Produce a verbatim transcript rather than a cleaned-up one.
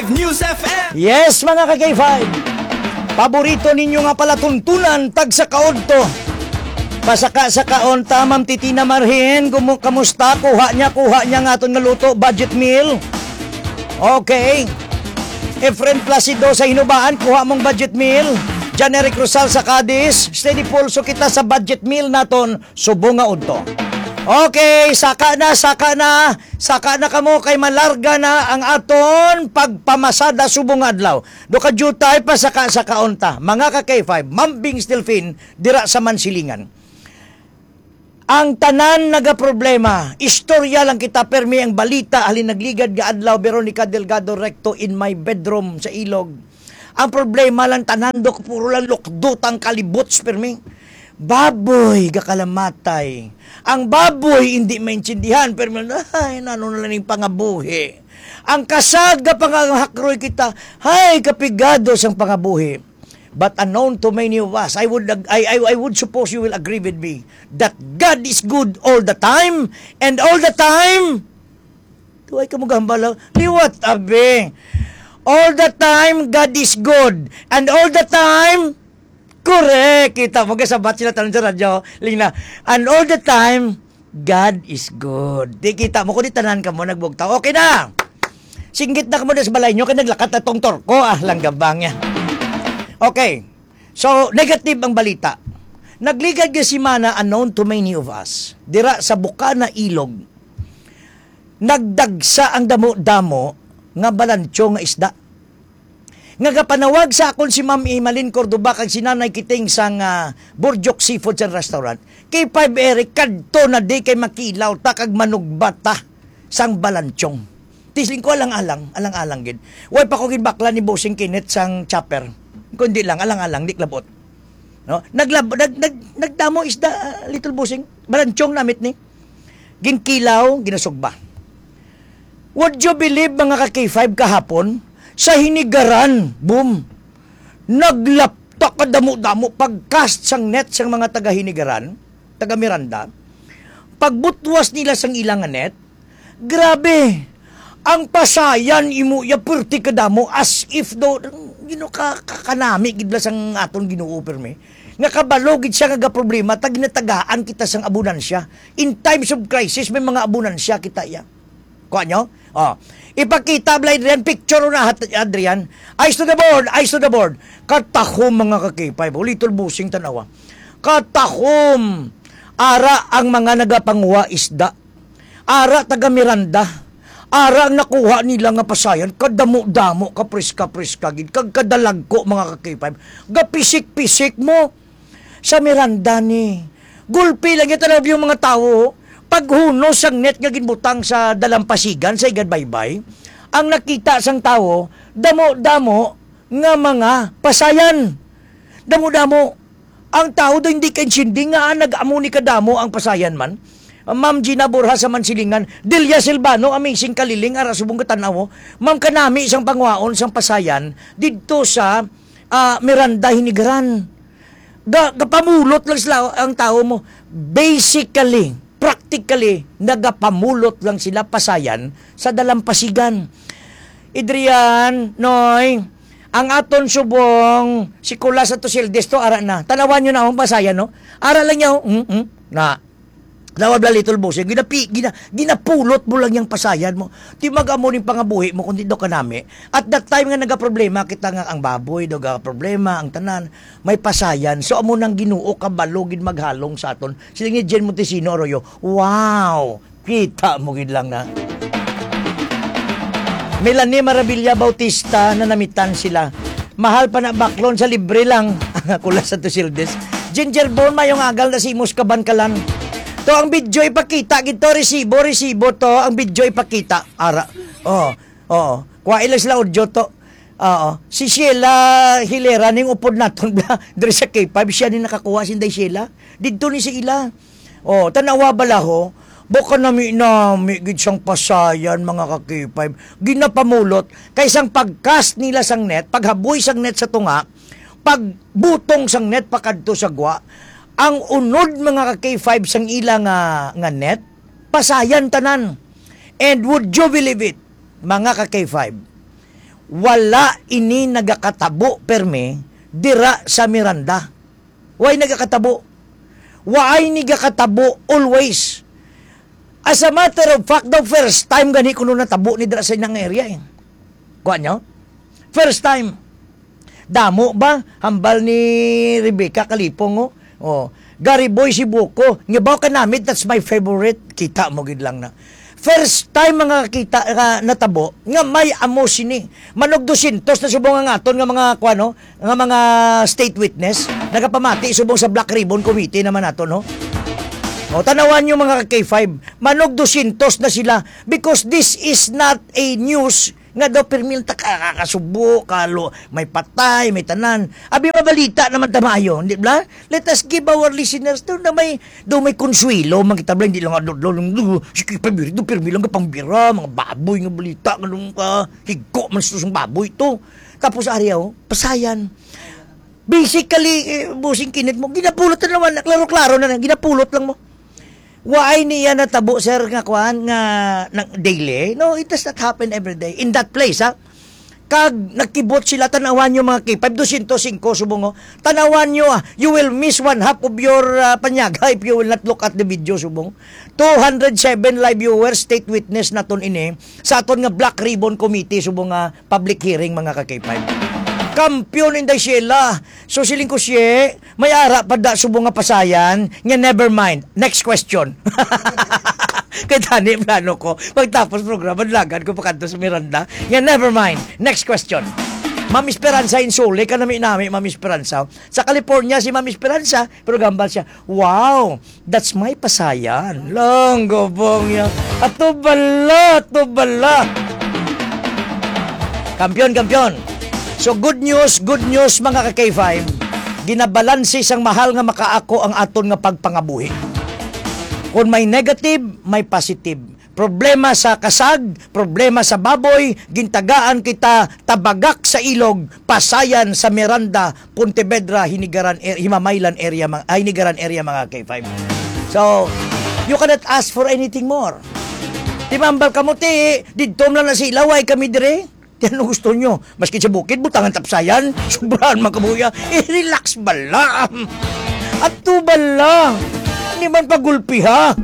News F M. Yes, mga ka-K five. Paborito ninyo nga palatuntunan, tagsa kaudto. Pasaka-sakaon ta, Ma'am Titina Marhin. Gumo-, kamusta? Kuha niya, kuha niya nga aton nga luto, budget meal. Okay. Efren Placido sa Hinubaan, kuha mong budget meal. John Eric Rosal sa Cadiz, steady pulso kita sa budget meal naton, subong nga udto. Okay, saka na, saka na, saka na kamo kay malarga na ang aton pagpamasada subong nga adlaw. Do ka jutay pa saka sa kaunta. Mga ka K five, Mambing Stilfin, dira sa Mansilingan. Ang tanan nagaproblema. Istorya lang kita, permi ang balita, halin nagligad nga adlaw, Veronica Delgado Recto in my bedroom sa Ilog. Ang problema lang tanan, Dok, puro lang lukdot ang kalibuts, permi. Baboy, gakalamatay. Ang baboy, hindi maintindihan, permi, ay, nano na lang yung pangabuhi. Ang kasag nga pangahakroy kita, ay, kapigado sang pangabuhi. But unknown to many of us, I would ag-, I, I, I would suppose you will agree with me that God is good all the time, and all the time, tuway ka mo gahambal, ah. Liwat, abi. All the time, God is good. And all the time, correct. Kita mo, kasabat sila tanan sa radyo. Lina, and all the time, God is good. Di kita mo, kundi tanan ka mo, nagbugtaw. Okay na. Singgit na ka mo na sa balay nyo, kay naglakat na tong torko. Ah, langgabang niya. Okay. So, negative ang balita. Nagligad nga semana, unknown to many of us, dira sa Bukana, Ilog, nagdagsa ang damo-damo nga balancho nga isda. Nga gapanawag sa akon si Ma'am Emalyn Cordova kag si Nanay Kiting sang, ah, Burjok Seafood and Restaurant. K five Eric, kadto na di kay makilaw ta kag manugba ta sang balanchong. Tisling ko, alang-alang, alang-alang gid. Way pa ko ginbakla ni Bossing Kenneth sang chopper. Kundi lang, alang-alang, di klabot. No? Naglab-, nag-, nag-, nagdamo isda, ah, Little Bossing. Balanchong namit ni. Ginkilaw, ginasugba. Would you believe, mga ka K five, kahapon, sa hinigaran, boom, naglapta ka damo-damo, pag-cast sang net sang mga taga Hinigaran, taga Miranda, pagbutwas nila sang ila nga net, grabe, ang pasayan imo ya perti kadamo, as if do, you know, ka, ka, kanami gid la sang aton Ginoo, permi. Nga kabalo gid siya nga gaproblema, ta ginatagaan kita sang abundansya. In times of crisis, may mga abundansya kita ya. Kuha nyo? Oh. Ipakita, Bla Adrian, picture na, hat-, Adrian. Eyes to the board, eyes to the board. Katahom, mga ka-K five. O, Little Bossing, tanawa. Katahom. Ara ang mga nagapanguha isda. Ara taga Miranda. Ara ang nakuha nila nga pasayan. Kadamo-damo, kapriska-priska gid. Kag kadalagko, mga ka-K five. Gapisik-pisik mo. Sa Miranda ni. Gulpi lang yung tanaw yung mga tao. Paghunos sang net nga ginbutang sa dalampasigan sa Igad Baybay, ang nakita sang tawo, damo-damo nga mga pasayan. Damo-damo. Ang tawo do hindi kaintindi nga, ah, nag-amo ni kadamo ang pasayan man. Ma'am Gina Borja sa Mansilingan, Delia Silvano, amazing kaliling, ara subong katanaw. Ma'am Kanami, isang panguhaon sang pasayan didto sa, ah, Miranda, Hinigaran. Ga-, gapamulot lang sila ang tawo mo. Basically, practically, nagapamulot lang sila pasayan sa dalampasigan. Adrian, Noy, ang aton subong, si Kulas at Tusildes to, ara na. Tanawan nyo na akong pasayan, no? Ara lang nyo, mm, mm, na. Tawag lang, Little Bossing, ginapi-, gina-, ginapulot mo lang yung pasayan mo. Di mag-amo ning pangabuhi mo, kundi do kanami. At that time nga nagaproblema kita nga ang baboy, do problema, ang tanan, may pasayan. So, amo nang Ginoo, kabalo gid maghalong sa aton. Sila ni Jen Montesino Arroyo, wow! Kita mo gid lang na. Melanie Maravilla Bautista, nanamitan sila. Mahal pa na baklon sa libre lang. Kulas sa Tusildes. Ginger Bone, mayong agal na si Imus Kabankalan. To ang video ipakita, gid to, resibo, resibo to, ang video ipakita. Ara, oh, oo. Kuha ila sila audio to. Oo. Si Sheila Hilera, ning upod naton, bla, diri sa K five, siya ni nakakuha, si Inday Sheila. Didto ni si ila. Oh, tanawa bala ho, baka nami-nami gid sang pasayan, mga ka-K five. Ginapamulot, kay sang pag-cast nila sang net, paghaboy sang net sa tunga, pagbutong sang net pakadto sa gwa, ang unod, mga ka-K five, sang ila nga, nga net, pasayan tanan. And would you believe it, mga ka-K five? Wala ini nagakatabo permi dira sa Miranda. Way nagakatabo. Way nagakatabo always. As a matter of fact, the first time gani kuno natabo ni dira sa inang area eh. Kuha nyo? First time. Damo ba? Hambal ni Rebecca Kalipong, oh. Oh. Gary Boy Sibuko. Nga ba ka namit? That's my favorite. Kita mo gid lang na. First time mga kita nga natabo nga may amo sini. Manog dosyentos na subong ang aton nga mga kuano, nga mga state witness nagapamati subong sa Black Ribbon Committee naman nato, no? O, tanawan nyo mga ka-K five, manog dosyentos na sila because this is not a news nga daw permi lang ta ka-, kakasubo, kalo, may patay, may tanan. Abi, mabalita naman ta maayo, di ba? Let us give our listeners daw na may, daw may konsuelo, man kita bala, hindi lang adlaw-adlaw lang, "Do, sige, pabiri, do, pirmi lang ka pangbira, mga baboy nga balita, nga nung ka, higko man sa sang baboy to." Tapos, ari, oh, pasayan. Basically, eh, busing kinit mo, ginapulot na naman, klaro-klaro na, na, ginapulot lang mo. Waay niya natabo, sir, nga kuan, nga, nga daily. No, it does not happen every day. In that place, ha? Kag nagkibot sila, tanawan nyo mga K five, dosyentos singko subong, oh. Tanawan nyo, ah, you will miss one half of your, ah, panyaga if you will not look at the video subong. Two hundred seven live viewers, state witness naton ini sa aton nga Black Ribbon Committee subong nga public hearing, mga ka-K five. Kampiyon, Inday Sheila. So, siling ko, siye, may ara pa da subong nga pasayan, nga never mind. Next question. Kay tani, plano ko, pagtapos programa, lagan ko pakanto sa Miranda. Nga never mind. Next question. Ma'am Esperanza Insole, kanami-nami, Ma'am Esperanza. Sa California, si Ma'am Esperanza, pero gambal siya, "Wow, that's my pasayan." Lang, gabang niya. Ato bala, ato bala. Kampiyon, kampiyon. So, good news, good news, mga ka-K five. Ginabalanse sang mahal nga makaako ang aton nga pagpangabuhi. Kung may negative, may positive. Problema sa kasag, problema sa baboy, gintagaan kita tabagak sa ilog, pasayan sa Miranda, Pontevedra, Hinigaran, er, Himamaylan area, mga, ay, Hinigaran area, mga K five. So, you cannot ask for anything more. Timambal kamo, ti, didto lang na sa ilaway kami dire. Ti ano gusto nyo? Maski sa bukid, butangan tapsayan. Sobrahan man kabuya. Eh, relax bala. Ato bala. Hindi man pagulpiha.